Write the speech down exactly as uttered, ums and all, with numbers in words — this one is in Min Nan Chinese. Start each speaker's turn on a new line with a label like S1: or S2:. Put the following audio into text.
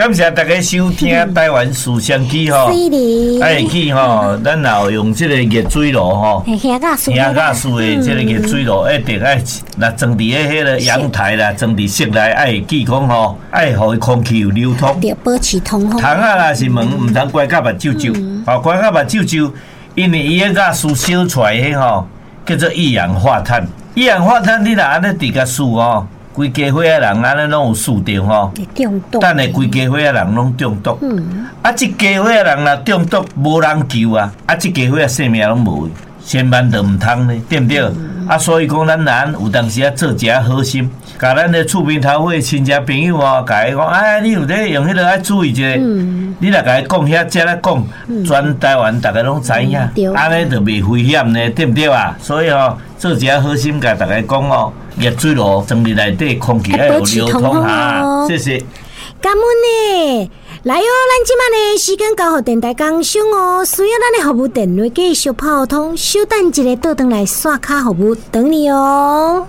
S1: 感謝大家收聽台灣思想記吼，愛記吼，咱若有用這個熱水爐吼，
S2: 瓦斯
S1: 瓦斯的這個熱水爐一定愛，若裝佇咧彼個陽台啦，裝佇室內愛記講吼，愛予伊空氣有流通，
S2: 對，保持通風。
S1: 窗仔若是門，毋通關甲目睭睭，吼，關甲目睭睭，因為伊彼瓦斯燒出來彼吼，叫做一氧化碳。一氧化碳你若按呢佇共欶吼，規家伙仔人按呢攏有欶著吼，
S2: 中毒。
S1: 等下規家伙仔人攏中毒。
S2: 嗯。
S1: 啊，這家伙仔人若中毒，無人救啊！啊，這家伙仔性命攏無，千萬就毋通咧，對毋對？
S2: 嗯、
S1: 啊，所以講咱人有當時啊做一下好心，共咱的厝邊頭尾親戚朋友哦，共伊講，哎，你有咧用彼個愛注意一下。
S2: 嗯、
S1: 你若共伊講遐遮咧講，全台灣逐家攏知影，按呢就袂危險呢，對毋對啊？所以吼，做一下好心，共大家講哦。熱水爐裝佇內底，空氣愛有流通哈。謝謝。
S2: 感恩呢，來哦，咱這擺呢時間交予電台工商哦，需要咱的服務電話繼續拋通，稍等一下，倒轉來刷卡服務等你哦。